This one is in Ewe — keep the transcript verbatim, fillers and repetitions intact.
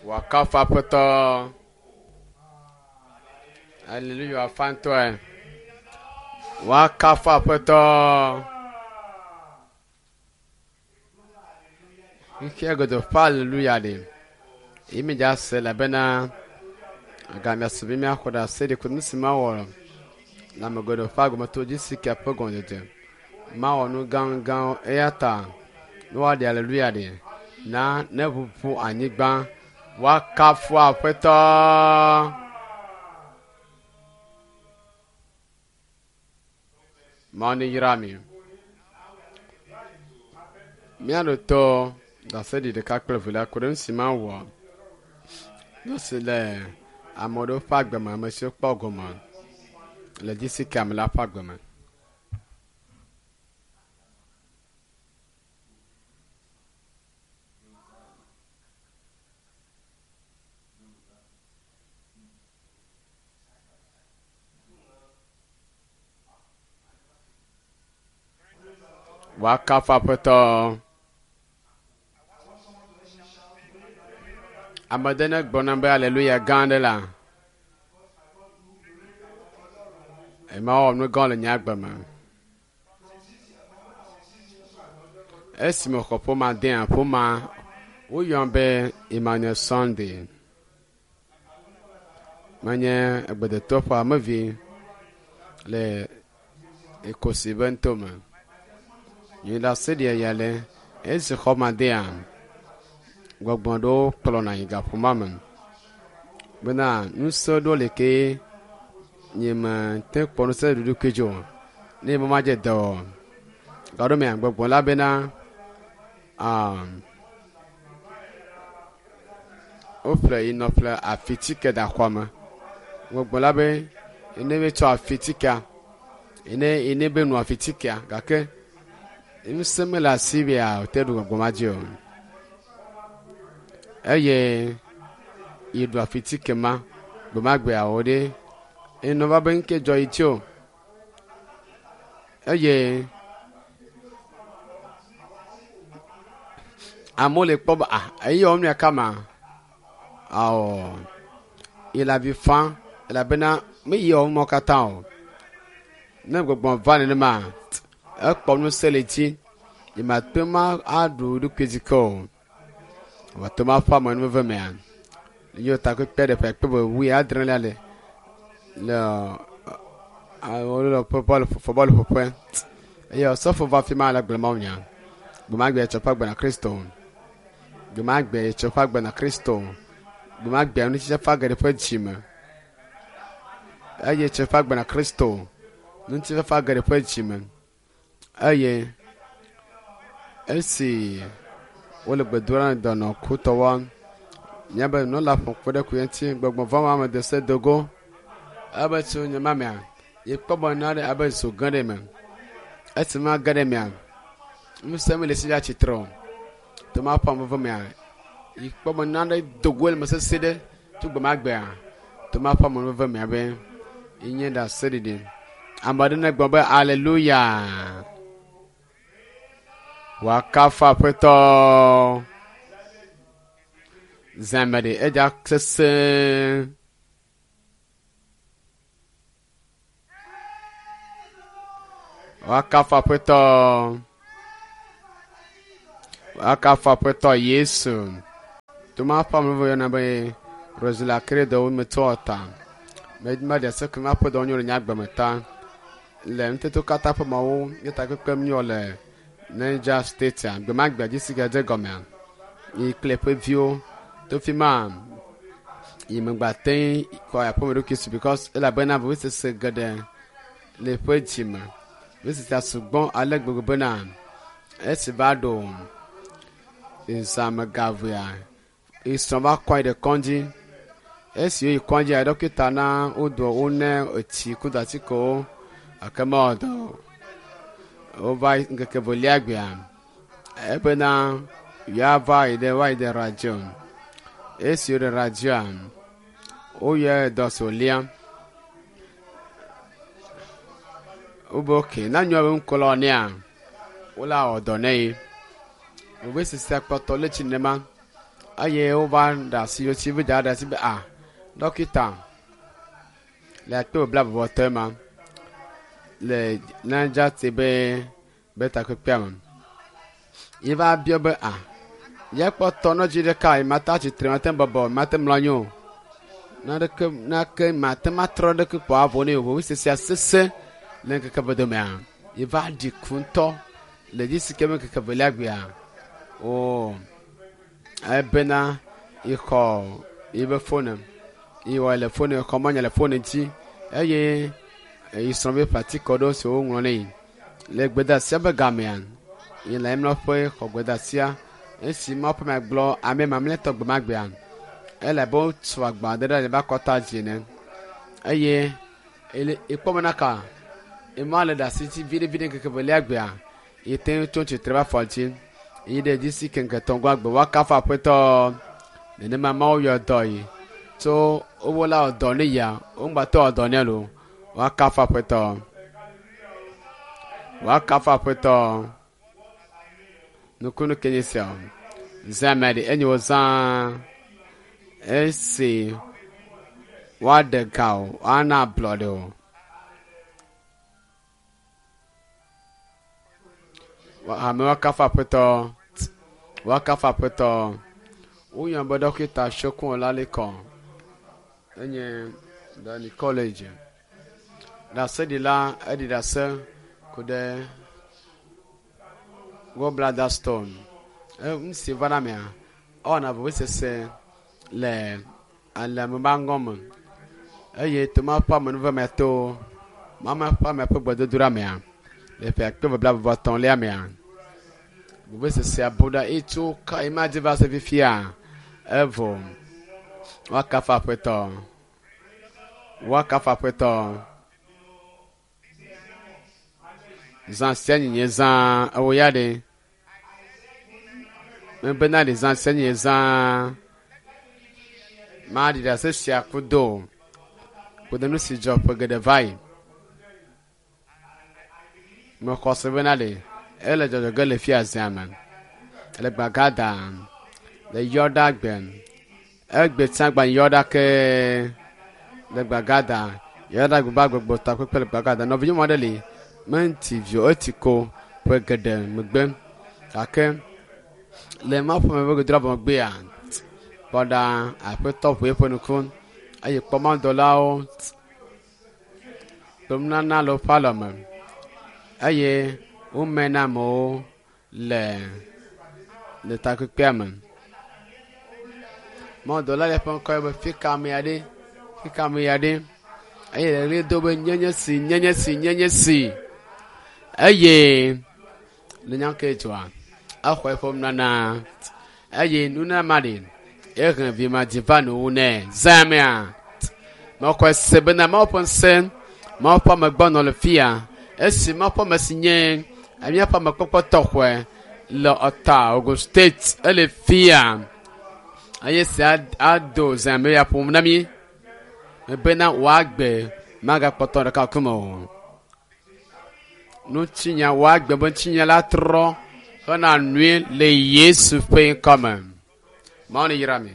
Wakafu aƒetɔ. Aleluya fantɔe. Wakafu aƒetɔ. Xexea godoo ƒe aleluya ɖe. Yi mi dza se elabena gamea su be míaxɔ ɖe ase ɖi ku nu si mawɔ le ame geɖewo ƒe agbemeto dzi si ke ƒe gɔmedzedze. Mawɔ nu gãgãwo eya ta ne woaɖe aleluya ɖe na ne ʋuʋu anyigba woakafu aƒetɔ. Mawu ne yra mi. Míaɖo to ɖaseɖi ɖeka kple evelia ku ɖe nu si mawɔ nu si le ame aɖewo ƒe agbe me, ame siwo kpɔ gome le dzisi ame la ƒe agbe me. Woakafu aƒetɔ. Ame ɖe ne gblɔ nam be aleluya gã aɖe la, ema wɔ nu gã le nye agbe me. Esime xɔ ƒome dea ƒomea, woyɔm be Emmanuel Sunday. Menye egbedetɔ ƒe amevi le Ekosi be ŋutome. Nye ɖaseɖia ya le esi xɔme dea, gbɔgbɔ ɖewo kplɔna yi gaƒomea me bena ŋusẽ ɖewo li ke nye me te kpɔ ŋusẽ ɖe ɖokui dzi o. Ne me madze dɔ o. Gaɖomea gbɔgbɔ la bena aa woƒle yi nɔƒle afitike da xɔa me. Gbɔgbɔ la be ene be tsɔ afitikea ene ene be nu afitikea gake ŋusẽ mele asi bea wòte ɖu gbɔgbɔ ma dzi o. Eye yi ɖu afitike ma gbemagbea wo ɖe enɔ va be ŋke dzɔ yi tsi o. Eye amewo le kpɔ be ah eyi wɔm mia kama awɔ yi le avi fam elabena meyi wɔm mɔ katã o. Ne gbɔgbɔ va nenema ekpɔ ŋusẽ le dzi yi ma te ma aɖu ɖokui dzi ke o. Wòate ma ƒe amenuveve mea. Ye takpekpe ɖe ƒe kpe be wui adrelia le le wole bɔlu bɔlu ƒoƒe eye osɔfo va fi ma le gblɔ mawu nya. Gbemagbe tsɔ ƒe agbe na Kristo. Gbemagbe tsɔ ƒe agbe na Kristo. Gbemagbe ŋutitsa ƒe age ɖe ƒe dzi me. Eye tsɔ ƒe agbe na Kristo. Ŋutifafa age ɖe ƒe dzi me. Eye esi wole gbe dom ɖa na dɔnɔ kutɔwoa, míabe nunɔla ƒo kpe ɖe ku ŋuti gbɔgbɔ vɔ̃ ame de se dogo. Ebe tso nye mamea, ye kpɔ be nane abe zo ge ɖe me. Esi ma ge ɖe mea, ŋusẽ mele si ya tsitre o. To ma ƒe ame mea, yi kpɔ be nane dogo le me sesẽ ɖe tso gbemagbea. To ma ƒe ame mea be nye ɖaseɖiɖi. Ame aɖe ne gblɔ be aleluya. Wòakafu aƒetɔ. Zãme ɖe edza sesẽ. Wòakafu aƒetɔ. Wòakafu aƒetɔ Yesu. Toma ƒe ame yɔna be Rosula Credo metɔ ta. Meɖe se ke ma ƒe dɔ nyo le nye agbe me ta. Le ŋutete katã ƒe mawo nye takpekpe míwɔ le Niger State gbemagbe dzi si ke dze gɔmea. Yi kple ƒe viwo to fi ma yi megba te kɔ aƒeme ɖokui si because elabena vevesese geɖe le ƒe dzi me. Vevesesea sugbɔ ale gbegbe bena esi va ɖo zãme gavea, esrɔ̃ va kɔ yi ɖe kɔdzi. Esi woyi kɔdzia, ɖɔkita na wodo wone etsi kudo atikewo gake mewɔ dɔ o. Wova yi ŋkeke velia gbea, ebena yeava yi ɖe woayi ɖe radio. Esi woɖe radioa, woyɔ dɔ si wòlia. Wobe okay, na nyɔa be ŋkɔ la nea, wola wɔ dɔ nɛ ye. Vevesesea kpɔtɔ le tsi nenema. Eye wova ɖe asi wotsi be dza ɖe asi be a dɔkita le akpe bla bɔbɔtɔe ma le Niger State be be takpekpea me. Ye va biɔ be a ye kpɔtɔ nɔdzi ɖeka yi mate atsitre mate bɔbɔ mate mlɔ anyi o. Naneke nake mate matrɔ ɖeke kpɔ avɔ nɛ o. Vevesesea sese le ŋkeke eve domea. Ye va ɖi ku ŋutɔ le dzi si ke be ŋkeke evelia gbea. O ebena yexɔ yibe fone yewɔ le fone xɔ mɔnya le fone dzi eye yi srɔ̃ be ƒe aɖewo si woŋlɔ nɛ le gbedeasia be gamea yi le emlɔƒe xɔ gbedeasia esi Mawu ƒe gblɔ ame mamlɛtɔ gbe ma gbea ele abe wotu agba aɖe ɖe eƒe akɔta dzi ene eye ele ekpɔ bena ka ema le ɖe asi dzi viɖe viɖe ŋkeke evelia gbea yi te ŋu tso tsitre va afɔ dzi yi ɖe dzi si ke ŋkeke etɔ̃ gbe woakafu aƒetɔ nenema Mawu yɔ dɔ yi tso wowo la wɔ dɔ ne yia woŋgbatɔ wɔ dɔ nɛ lo woakafu aƒetɔ woakafu aƒetɔ nukunu ke nye sia zã me ɖe enye wo zã esi woaɖe ga o woana ablɔɖe o. Ame woakafu aƒetɔ woakafu aƒetɔ woyɔ be dɔkita Shokun Olalekɔ enye Dani College ɖaseɖila eɖi ɖase ku ɖe gallbladder stone. Nu si va na mea ewɔna vevesese le alime ƒe aŋɔ me eye to Mawu ƒe amenuveve to Mawu ƒe ame ƒe gbedodoɖa mea le ƒe akpe eve blaeve vɔ etɔ̃lia mea vevesesea bu ɖa eye tso ka ema dzi va se fifia evɔ woakafu aƒetɔ woakafu aƒetɔ zã sia nyinye zã ewo ya ɖe mebena ɖe zã sia nyinye zã maɖi ɖase sia kudo kudo nu si dzɔ ƒe geɖe va yi mexɔ se bena ɖe ele dzɔdzɔ ge le fia zia me le gbagada le yɔɖa gbe egbe tsã gba yɔɖa ke le gbagada yɔɖa gbe ba gbogbo takpekpe le gbagada nɔvinyɔnu aɖe li menti vio eti ko ƒe geɖe megbe gake le Mawu ƒe ame ƒe gbedodoɖa vɔ megbea kpɔ ɖa aƒetɔ ʋu eƒe ŋku eye kpɔ mawudɔlawo kple nunana le woƒe alɔme eye wome na amewo le le takpekpea me. Mawudɔla le eƒe ŋkɔ be fika ame ya ɖe fika ame ya ɖe eye le ɣli do be nyenye si nyenye si nyenye si eye le nya ke dzɔa exɔ eƒe nunana eye nunana ma ɖe ehe vi ma dzi va nuwu nɛ zã mea mexɔe se bena Mawu ƒe ŋusẽ Mawu ƒe ame gbɔ nɔ le fia esi Mawu ƒe ame si nye míaƒe amekpɔkpɔ tɔxɔe le Ɔta Ogun State ele fia eye sia ado zã me ya ƒom na mí bena wòagbe magakpɔtɔ ɖeka kume o. Ŋutinya wòagbe be ŋutinya la trɔ hena nui le Yesu ƒe ŋkɔme. Mawu ne yra mi.